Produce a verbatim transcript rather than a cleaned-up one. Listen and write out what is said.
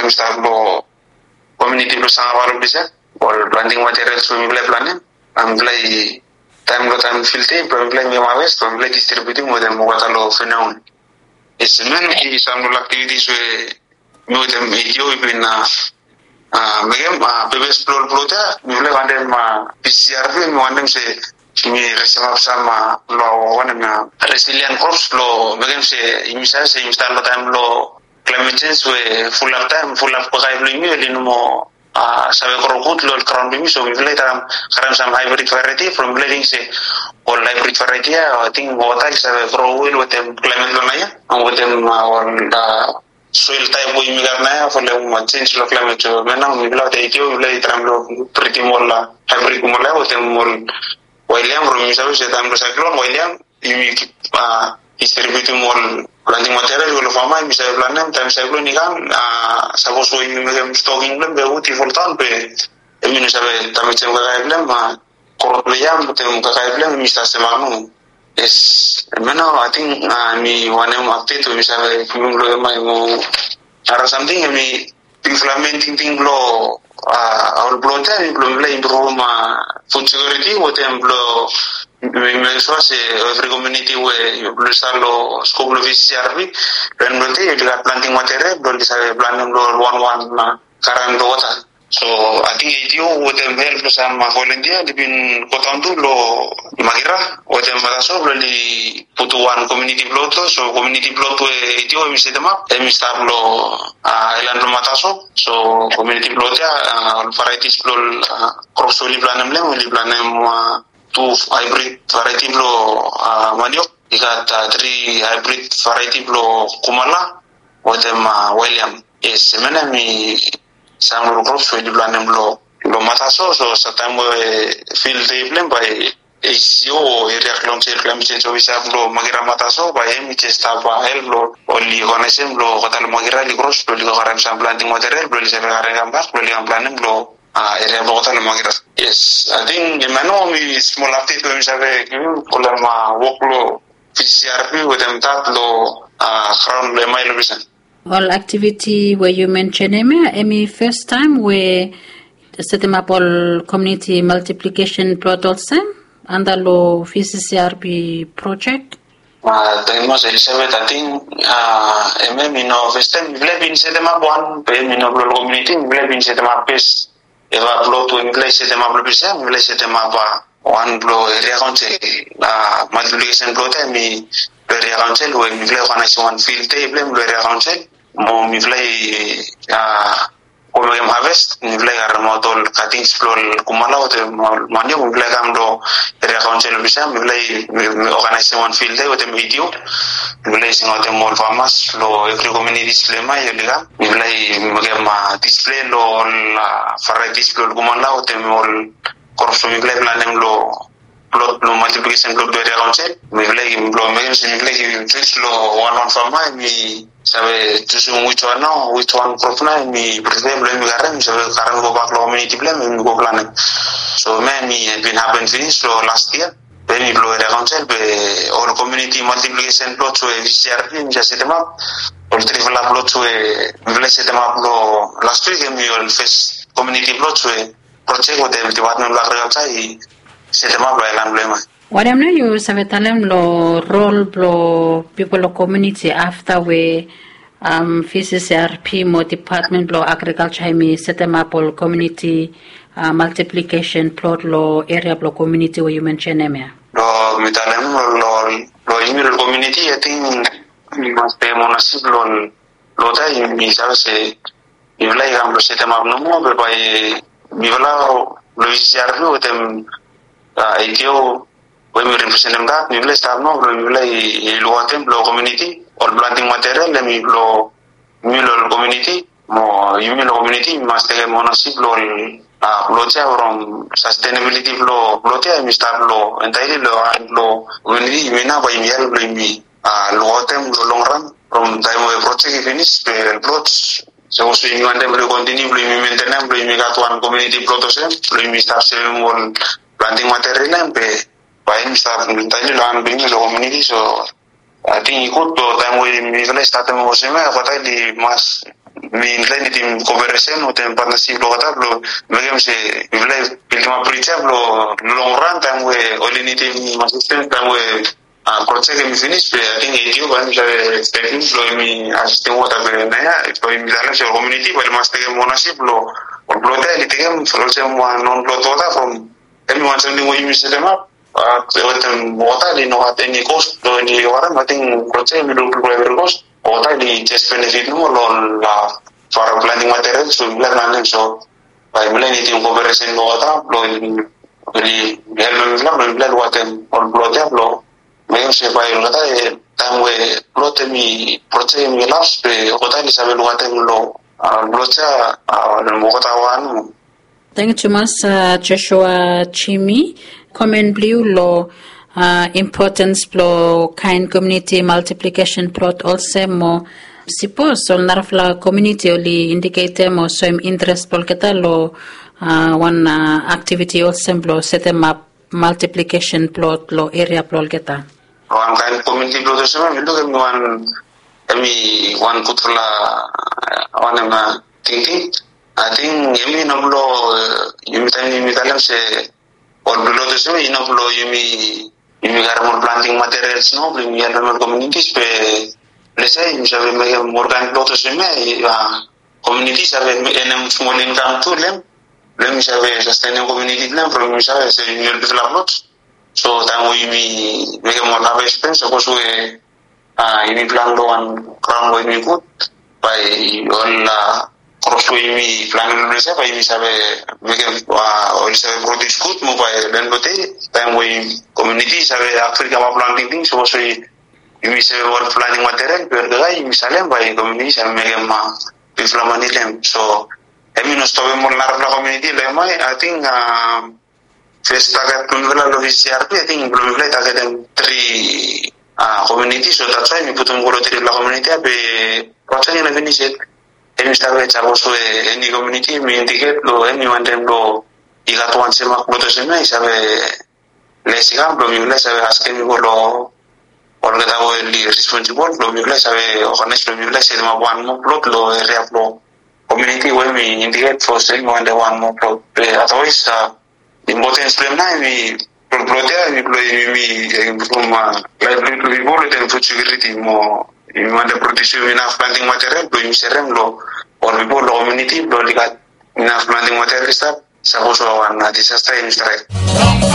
mi stap long komuniti blong Sangapalo Pisa. Ol planting materials we mipela i planim, mipela i taem long taem field day blong mipela i mekem harvest blong mipela i distributim wetem olgeta long afternoon. Yes, hemia i sam long aktivitis we mi wetem A T O i bin mekem. Pepes blong ol plot ya mipela i wantem P C R P, mi wantem se mi resemap sam long wanem ya, resilient crops blong mekem se yumi save se yumi stap long taem blong climate change we fulap taem, fulap kakae blong yumi oli no moa save gro gud long ol graon blong yumi. So mipela i traem karem sam hybrid variety from mipela i ting se ol hybrid variety ya, ating wota i save gro wel wetem climate blong naoia, wetem ol soil taep we yumi gat naoia folem change long climate. So hemia nao mipela wetem A T O mipela i traem long bridim ol hybrid kumala wetem ol wild yam from yumi save se taem blong cyclone, wild yam yumi kip distributim ol planting material we long fama yumi save planem taem cyclone i kam. Sapos we yumi mekem stocking blong hem be wut i foldaon be hemi no save damejem kakae blong hem, krop blong yam wetem kakae blong hem i stap semak nomo. Yes, hemia nao ating mi wanem update we mi save givim long hemia. Mo nara samting hemi bigfala men tingting blong ol plot ya hemi blong mipela i impruvim food security wetem blong mek sua se evri komuniti we blong i stap long skop blong V C C R P, long en blong dei oli gat planting material blong oli save planem long ol wanwan karen blong wota. So ating A T O wetem help blong sam volunteer oli bin godaon tu long Magira wetem Mataso blong oli putum wan community plot. So community plot we A T O hemi setemap hemi stap long aelan blong Mataso. So community plot ya ol varieties blong ol crops we oli planem long hem, oli planem tu hybrid variety blong maniok, i gat tri hybrid variety blong kumala wetem wild yam. Yes, hemia nao hemi sam long ol crops we oli planem long Mataso. So taem we field day blong hem bae A C C O o Area Council Climate Change Officer blong Magira Mataso bae hemi jes stap help blong oli organizem blong olgeta long Magira oli cross blong oli go karem sam planting material blong oli save karem kambak blong oli kam planem long area blong olgeta long Magira. Yes, ating hemia nao hemi smol update we mi save givim folem wok blong V C C R P wetem dat long graon blong hemia i long Pisa. Ol aktiviti we yu mensenem ya hemi fastaem we setemap ol komuniti multiplication plot olsem anda long V C C R P projek? Thank you mas Elizabeth, ating hemia hemi no fastaem. Mipela i bin setemap wan be hemi no blong ol komuniti, mipela i bin setemap fes eva plot we mipela i setemap long Pisa, mipela i setemap wan blong area council. Multiplication plot ya hemi blong area council we mipela i organizem wan field day blong hem long area council. Mo mipela i go mekem harvest, mipela i karemaot ol cuttings blong ol kumala wetem ol maniok, mipela i kam long area council office ya, mipela i organizem wan field day wetem A T O. Mipela i singaotem ol farmers long evri communities blong hemia oli kam. Mipela i mekem display long ol varieties blong ol kumala wetem ol crops we mipela i planem long plot blong multiplication plot blong area council. Mipela i blong mekem se mipela i givim choice long wan wan farmer hemi save jusum which one nao, which one crop nao hemi prefer blong hemi karem, hemi save karem gobak long community blong hem, hemi go planem. So hemia hemi bin happen finis long last year. Be hemi blong area council be ol community multiplication plots we V C R P hemi jes setemap, ol trifala plots we mipela i setemap long last week, hemi ol fes community plots we projek wetem Department blong Agriculture i setemap long aelan blong hemia. Wanem nao yu save talem long rol blong pipol long komuniti afta we V C C R P mo Department blong Agriculture hemi setemap ol komuniti multiplication plot long eria blong komuniti we yu mensenem ya? Long mi talem long yumi long komuniti, ating mi mas pem onesip long plot ya, yumi save se mifala i kam blong setemap nomo be bae mifala blong V C C R P wetem A T O we mi representem dat, mifala i stap nao blong mifala i lukaotem blong komuniti, ol planting material hemi blong yumi long ol komuniti. Mo yumi long komuniti yumi mas tekem onesip long ol plot ya from sustainability blong plot ya hemi stap long entirely long han blong komuniti. Yumi nao bae yumi help blong yumi lukaotem long long ran from taem we projek i finis be ol plot, sapos we yumi wantem blong kontiniu blong yumi mentenem blong yumi gat wan komuniti plot olsem blong yumi stap sevem ol planting material ya be bae yumi stap entirely long han blong yumi long komuniti. So ating i gud long taem we mifala i statem olsem ya, olgeta oli mas mifala i nidim koperesen wetem patnasip blong olgeta blong mekem se mifala i bildimap brij ya blong long ran taem we oli nidim asistens taem we projek hemi finis be ating ADO bae hemi save tekem blong hemi asistem wota be naoia blong hemi talem se ol komuniti bae oli mas tekem onasip blong ol blot ya oli tekem olsem wan non blot wota from hemi wan samting we yumi setemap wetem wota oli no gat eni kos blong eni wara ating projek hemi luk blong evri kos wota oli jes benefit nomo long ol fara planting material so mifala i planem so bae mifala i nidim koperesen blong wota blong oli helpem mifala blong mifala i lukaotem ol blot ya blong mekem se bae olgeta taem we blot hemi projek hemi laps be olgeta oli save lukaotem long blot ya olgeta wan. Tangkiu tumas Joshua Jimmy, komen blong yu long impotens blong kaen komuniti maltiplikesen plot olsem mo sipos ol narafala komuniti oli indiketem o soem interes blong olgeta long wan aktiviti olsem blong setemap maltiplikesen plot long eria blong olgeta. Wan kaen komuniti blot olsem ya mi luk hemi wan hemi wan gudfala wanem tingting. Ating hemi no blong yumi taem yumi talem se ol blot olsem ya i no blong yumi yumi karem ol planting materials no blong yumi helpem ol komunitis be lese yumi save mekem ol kaen blot olsem ya komuniti i save enem smol inkam tu long hem blong hem i save sastenem komuniti blong hem from yumi save se yumi ol bigfala blot. So taem we yumi mekem ol haves blong hem sapos we yumi plan long wan graon we yumi gud bae ol krops we yumi planem long ples ya bae yumi save mekem oli save produs gud mo bae long en blong dei taem we komuniti i save agri kamap long tingting sapos we yumi save ol planting material be olgeta yumi salem bae komuniti i save mekem bigfala mane long hem. So hemi no stopem ol narafala komuniti long hem. Ating fes taget blong mifala long VCRP ating blong mifala i tagetem tri komuniti so that's why mi putum go long trifala komuniti ya be projek i no finis yet. Hemi stap yet sapos we eni komuniti hemi indiket long hemi wantem long i gat wan semak blot olsem ya i save les i kam blong mifala i save askem i go long olgeta we oli responsibol blong mifala i save ogenaes blong mifala i setemap wan moa blot long eria blong komuniti we hemi indiket fos hemi wantem wan moa blot be otherwise impotens blong hem nao hemi blot ya hemi blong yumi impruv laevli blong pipol wetem fud sekiuriti mo yumi wantem produsim inaf planting material blong yumi serem long ol pipol long komuniti blong oli gat inaf planting material i stap sapos we wan disasta hemi straek.